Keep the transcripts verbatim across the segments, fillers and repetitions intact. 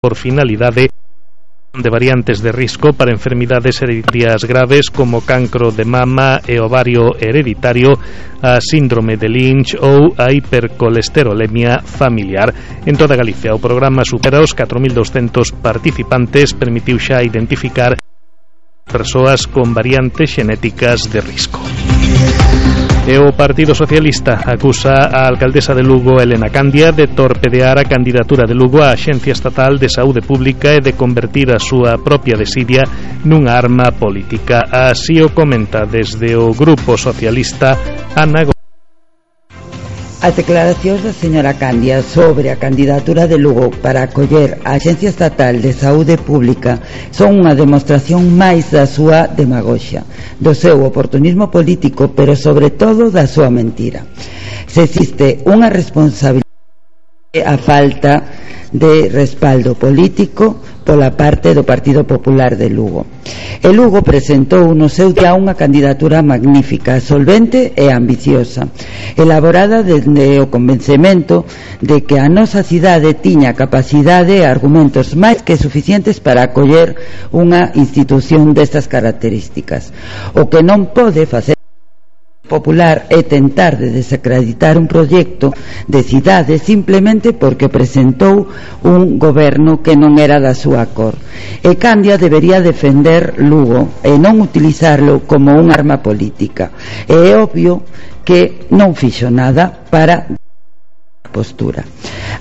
por finalidade de variantes de risco para enfermidades hereditarias graves como cancro de mama e ovario hereditario, a síndrome de Lynch ou a hipercolesterolemia familiar. En toda Galicia, o programa supera os catro mil douscentos participantes, permitiu xa identificar persoas con variantes xenéticas de risco. E o Partido Socialista acusa a alcaldesa de Lugo, Elena Candia, de torpedear a candidatura de Lugo á Axencia Estatal de Saúde Pública e de convertir a súa propia desidia nunha arma política. Así o comenta desde o Grupo Socialista Ana Gómez. As declaracións da señora Candia sobre a candidatura de Lugo para acoller a Axencia Estatal de Saúde Pública son unha demostración máis da súa demagoxia, do seu oportunismo político, pero sobre todo da súa mentira. Se existe unha responsabilidade, a falta de respaldo político pola parte do Partido Popular de Lugo. E Lugo presentou no seu día unha candidatura magnífica, solvente e ambiciosa, elaborada dende o convencemento de que a nosa cidade tiña capacidade e argumentos máis que suficientes para acoller unha institución destas características. O que non pode facer Popular é tentar de desacreditar un proxecto de cidade simplemente porque presentou un goberno que non era da súa cor. E Candia debería defender Lugo e non utilizarlo como un arma política. E é obvio que non fixo nada para postura.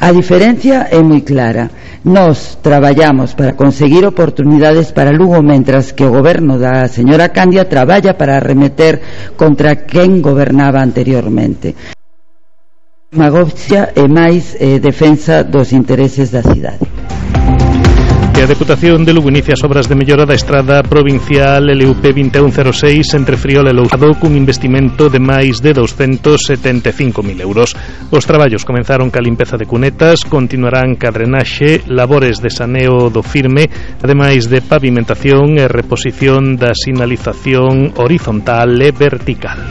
A diferencia é moi clara. Nós traballamos para conseguir oportunidades para Lugo, mentras que o goberno da señora Candia traballa para arremeter contra quen gobernaba anteriormente. Demagoxia e máis eh, defensa dos intereses da cidade. A Deputación de Lugo inicia as obras de mellora da estrada provincial L U P vinte e un cero seis entre Friol e Lousado cun investimento de máis de doscentos setenta e cinco mil euros. Os traballos comenzaron ca limpeza de cunetas, continuarán ca drenaxe, labores de saneo do firme, ademais de pavimentación e reposición da sinalización horizontal e vertical.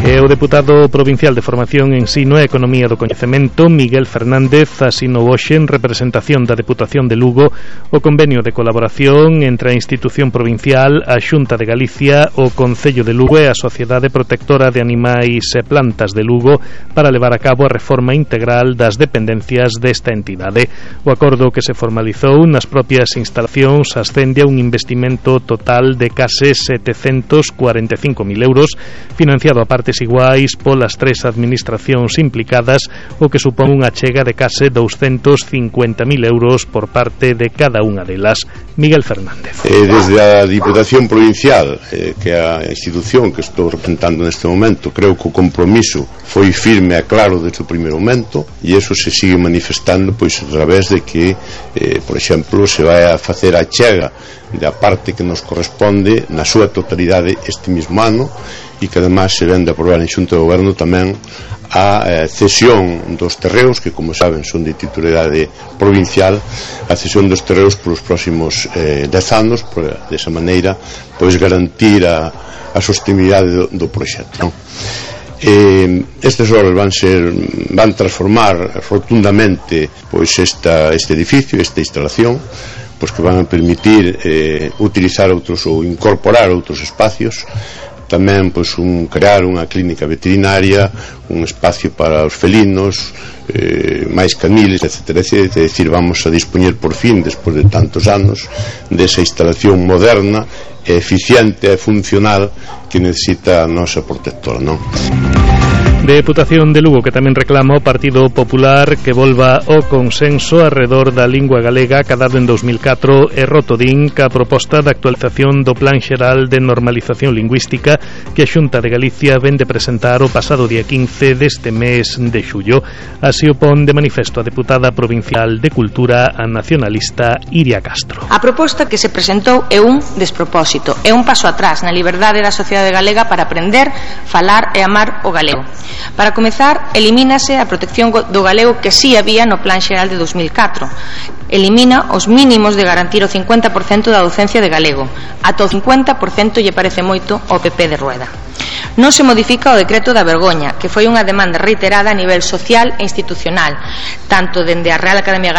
E o deputado provincial de Formación, Ensino e Economía do Coñecemento, Miguel Fernández, asinou hoxe en representación da Deputación de Lugo o convenio de colaboración entre a institución provincial, a Xunta de Galicia, o Concello de Lugo e a Sociedade Protectora de Animais e Plantas de Lugo para levar a cabo a reforma integral das dependencias desta entidade. O acordo que se formalizou nas propias instalacións ascende a un investimento total de case setecentos cuarenta e cinco mil euros, financiado a partes iguais polas tres administracións implicadas, o que supón unha chega de case doscentos cincuenta mil euros por parte de cada unha delas. Miguel Fernández. Eh, desde a Diputación Provincial, eh, que é a institución que estou representando neste momento, creo que o compromiso foi firme e claro desde o primeiro momento, e eso se sigue manifestando pois a través de que, eh, por exemplo, se vai a facer a chega da parte que nos corresponde na súa totalidade este mesmo ano, e que además se ven de aprobar en Xunta de Goberno tamén a eh, cesión dos terreos, que como saben son de titularidade provincial, a cesión dos terreos polos próximos eh, dez anos, por desa maneira pois garantir a, a sostenibilidade do, do proxecto, non? Eh, estes obras van ser van transformar rotundamente pois esta, este edificio, esta instalación, pois que van a permitir eh, utilizar outros ou incorporar outros espacios, tamén pois un crear unha clínica veterinaria, un espacio para os felinos, eh, máis caniles, etcétera, etcétera. É dicir, vamos a dispoñer por fin, despois de tantos anos, desa instalación moderna, eficiente e funcional que necesita a nosa protectora, non? Deputación de Lugo que tamén reclama o Partido Popular que volva o consenso arredor da lingua galega acadado en dos mil catro e rotodín ca proposta de actualización do Plan Xeral de Normalización Lingüística que a Xunta de Galicia ven de presentar o pasado día quince deste mes de xullo. Así o pon de manifesto a deputada provincial de Cultura, a nacionalista Iria Castro. A proposta que se presentou é un despropósito, é un paso atrás na liberdade da sociedade galega para aprender, falar e amar o galego. Para comezar, elimínase a protección do galego que sí había no Plan Xeral de dos mil catro. Elimina os mínimos de garantir o cincuenta por cento da docencia de galego. Ata o cincuenta por cento lle parece moito ao P P de Rueda. Non se modifica o decreto da vergoña, que foi unha demanda reiterada a nivel social e institucional, tanto dende a Real Academia Galega